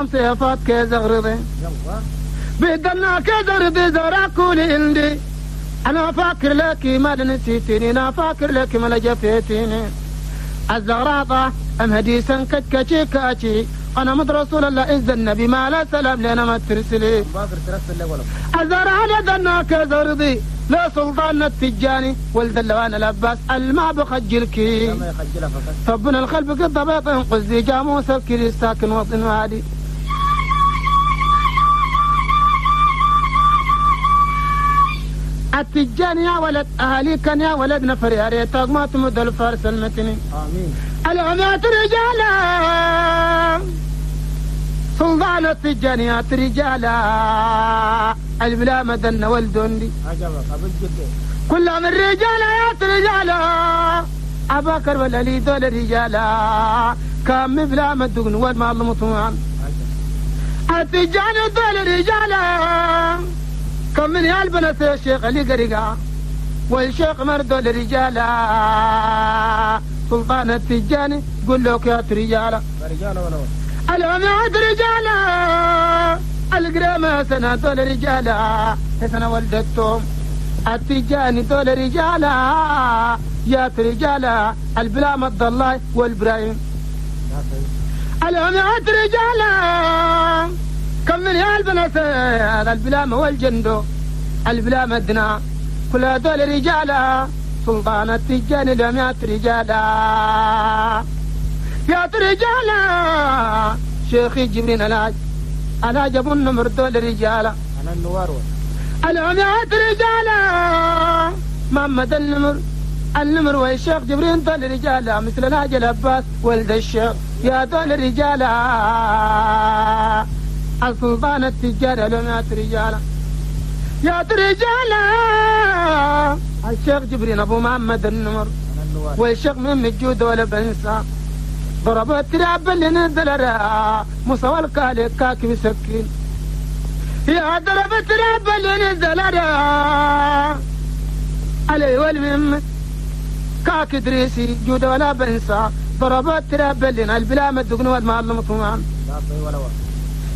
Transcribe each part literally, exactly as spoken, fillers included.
سيفات كزغرضي بدنا كزغرضي زرع كل عندي انا فاكر لك ما نسيتني انا فاكر لك ما جفيتني الزغراطة ام هديسا كتكتي كاتي انا مد رسول الله إذ النبي ما لا سلام لنا ما ترسلي الزرع لدنا كزرضي لا سلطان التجاني ولد اللوان العباس الما بخجلك طبنا الخلف قد بيط قزي جاموس الكري ساكن وطن وادي التجاني يا ولد اهالي كان يا ولد نفر يا ريتك ما تمد الفارس المتني امين العمات رجالا سلطان التجانيات رجالا البلا مدن والدندي كل من رجالا يا رجالا أباكر ولا لي دول رجالا كام بلا مدقن والما المطوان التجاني دول رجالا كم من يالبنة الشيخ اللي قرقا والشيخ مردول رجالا سلطان التجاني قل لك يا رجالا رجالا ولا العماد رجالا القرامة سنة دول رجالا سنة ولدتهم التجاني دول رجالا يا رجالا البلا مد الله والبرايم العماد رجالا كم من يا البنات البلامة والجندو البلامة دنا كل دول رجالا سلطان التجاني العماد رجالا يا رجالا شيخي جبرين العاج أنا جبن النمر دول رجالا أنا النوار العميات رجالا محمد النمر النمر والشيخ جبرين دول رجالا مثل الهاج العباس ولد الشيخ يا دول رجالا السلطان التجار العميات رجالا يا رجالا الشيخ جبرين أبو محمد النمر والشيخ من الجود ولا بنسى ضرب التراب اللي نزل را مصوى الكالي كاكي بسكين يا ضرب التراب اللي نزل را علي والمم كاك دريسي جود ولا بنسى ضرب التراب اللي البلا مدقن والمال المطمئن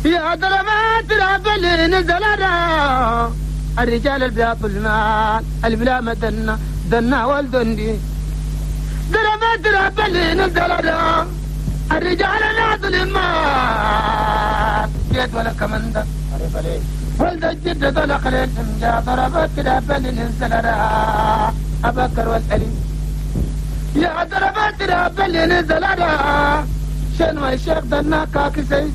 يا ضرب التراب اللي نزل را الرجال البياض المال البلا مدنا دنا والدندي ضرب التراب اللي نزل را الرجال ناظل المال جيت ولا كمندة ولد الجد ذل خليل جا ضرب التراب اللي نزل را أبكر والألي يا ضرب التراب اللي نزل را شنو الشيخ دنا كاكسي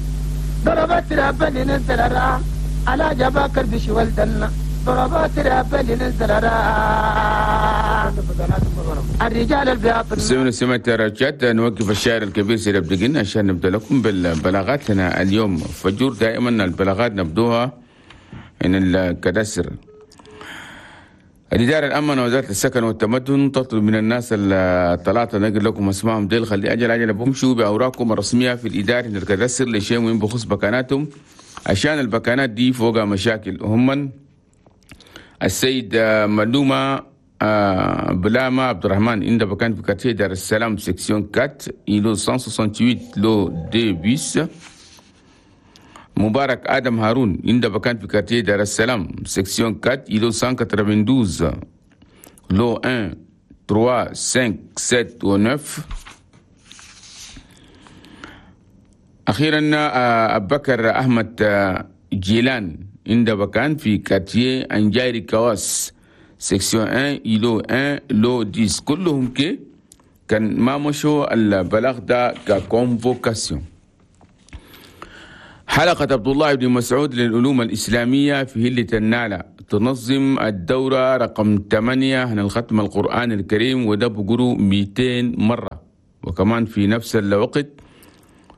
ضرب التراب اللي نزل را على جباكر بشي ولدنا ضرب التراب اللي نزل را الرجال البياض. سمعنا سمعت رجعت نوقف الشاعر الكبير سيد عبد الجن عشان نبدا لكم بالبلاغات لنا اليوم فجور. دائما البلاغات نبدوها من الكداسر. الإدارة الأمن وزارة السكن والتمدن تطلب من الناس الثلاثة نقل لكم اسمائهم ديل خلي أجل أجل بمشوا بأوراقهم الرسمية في الإدارة الكداسر لشيء مهم بخصوص بكاناتهم عشان البكانات دي فوقها مشاكل. هم السيد ملومة آه بلاما عبد الرحمن عند بكان في quartier دار السلام section أربعة îlot مية وثمانية وستين lot deux bis. مبارك آدم هارون عند بكان في quartier دار السلام section أربعة îlot مية واتنين وثمانين lot واحد ثلاثة خمسة سبعة و تسعة. أخيرا آه أبو بكر أحمد آه جيلان عند بكان في quartier أنجاري كواس section واحد îlot واحد lot عشرة. كلهم كي كان ما مشوا البلاغ ده ك convocation. حلقة عبد الله بن مسعود للعلوم الإسلامية في هلة النالة تنظم الدورة رقم ثمانية عن الختم القرآن الكريم وده بقرو مئتين مرة، وكمان في نفس الوقت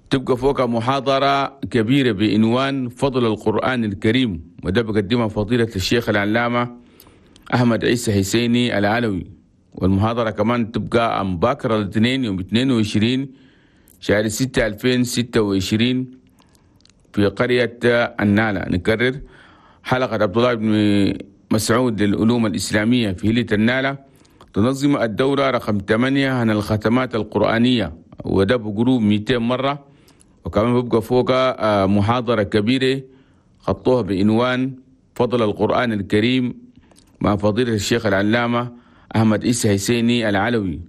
تبقى فوق محاضرة كبيرة بعنوان فضل القرآن الكريم، وده بقدمها فضيلة الشيخ العلامة أحمد عيسى حسيني العلوي. والمحاضرة كمان تبقى عن باكر الاثنين يوم اثنين وعشرين شهر ستة ألفين وستة وعشرين في قرية النالة. نكرر، حلقة عبد الله بن مسعود للعلوم الإسلامية في هلة النالة تنظم الدورة رقم ثمانية عن الختمات القرآنية، وده بقرو مئتين مرة، وكمان بيبقى فوق محاضرة كبيرة خطوها بعنوان فضل القرآن الكريم مع فضيلة الشيخ العلامة أحمد إيسى حسيني العلوي.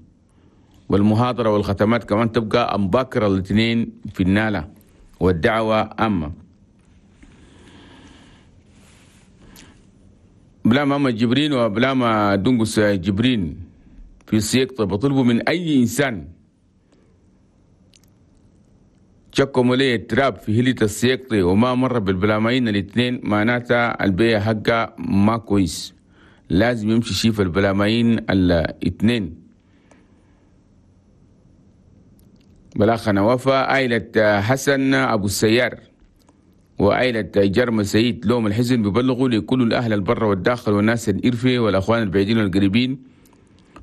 والمحاضرة والختمات كمان تبقى أمباكر الاثنين في النالة، والدعوة أما بلا ما جبرين وبلا ما دنقس جبرين في السياق. بطلبوا من أي إنسان شكوا لي التراب في هلة السياق وما مر بالبلامين الاثنين، معناتها البيع حقه ما كويس، لازم يمشي شيف البلامين الاثنين. بلاخنا وفا عائلة حسن أبو السيار وعائلة جرم سيد لوم الحزن بيبلغوا لكل الأهل البر والداخل والناس الإرفة والأخوان البعيدين والقريبين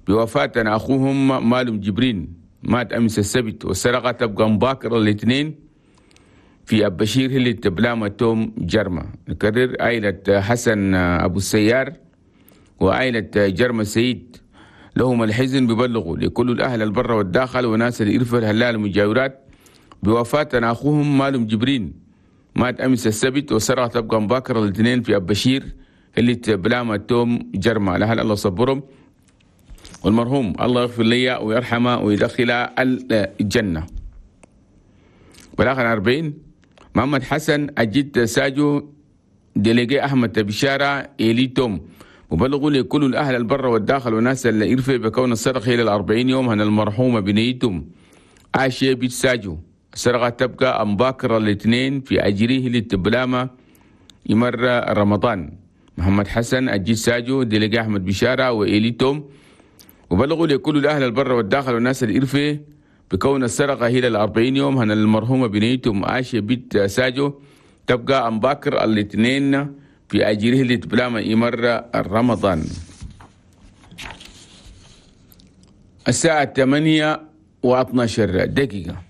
بوفاة أخوهم مالم جبرين، مات أمس السبت، والسرقة تبقى مباكرة الاثنين في أبشير اللي تبلامة توم جرمة. نكرر، عائلة حسن أبو السيار وعائلة جرمة سيد لهم الحزن ببلغوا لكل الأهل البر والداخل وناس الإرفة الهلال المجاورات بوفاة أخوهم مالم جبرين، مات أمس السبت، والسرقة تبقى مباكرة الاثنين في أبشير اللي تبلامة توم جرمة. لهل الله صبرهم، والمرحوم الله يغفر لي ويرحمه ويدخل الجنة. بالآخر أربعين محمد حسن أجد ساجو ديليجي أحمد بشارة إلي توم وبلغوا لكل الأهل البر والداخل والناس اللي إرفة بكون السرقة إلى الأربعين يوم هن المرحومة بنيتهم عاشي بيت ساجو. السرقة تبقى أمباكرة الاثنين في أجريه للتبلامة يمر رمضان. محمد حسن أجد ساجو ديليجي أحمد بشارة وإلي توم وبلغوا لكل الأهل البر والداخل والناس الإرفة بكون السرقة هي الأربعين يوم هن المرحومة بنيتهم عاشة بيت ساجو تبقى أمباكر الاثنين في أجره لتبلامة يمر رمضان. الساعة ثمانية واثناشر دقيقة.